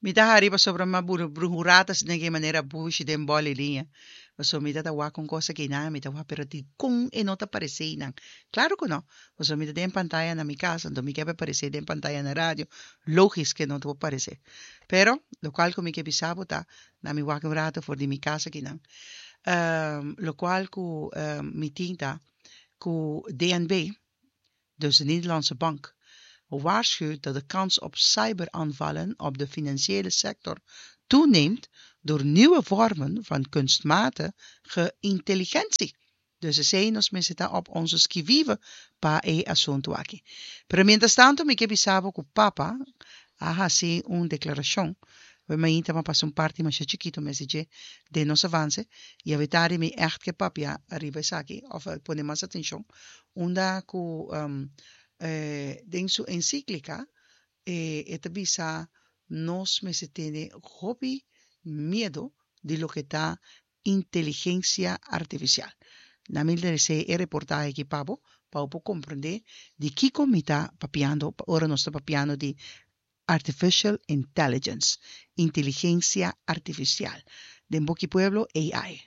Mi ta hari pasobra mi a bruhurá ta asina ke manera bushi den bòl i liña. Pasobra mi ta ta wak un kos akinan, mi ta wak pero dikon e no ta paresé einan? Klaro ku no, pasobra mi ta den pantaya na mi kas, anto mi ke pa e paresé den pantaya na radio, lógis ke no ta por paresé. Pero, lokual ku mi ke bisa bo ta, na mi wak un rato for di mi kas akinan, lokual ku mi tin ta ku DNB, dus de Nederlandse Bank, waarschuwt dat de kans op cyberaanvallen op de financiële sector toeneemt door nieuwe vormen van kunstmatige intelligentie. Dus esei nos mester ta op onze qui vive pa e asuntu aki. Pero mientrastantu mi ke bisa bo ku Papa a hasi un deklarashon. We mainta m'a pasa un parti masha chikitu mes di dje den nos avance i awetari mi ègt ke papia riba esaki òf pone mas atenshon unda ku den su ensíklika e ta bisa nos mester tene hopi miedu di loke ta inteligensia artifisial. Na mi lesa e reportahe aki pa bo, pa bo por komprendé di kiko mi ta papiando ora nos ta papiando di Artificial Intelligence, Inteligensia Artifisial, den boki pueblo AI.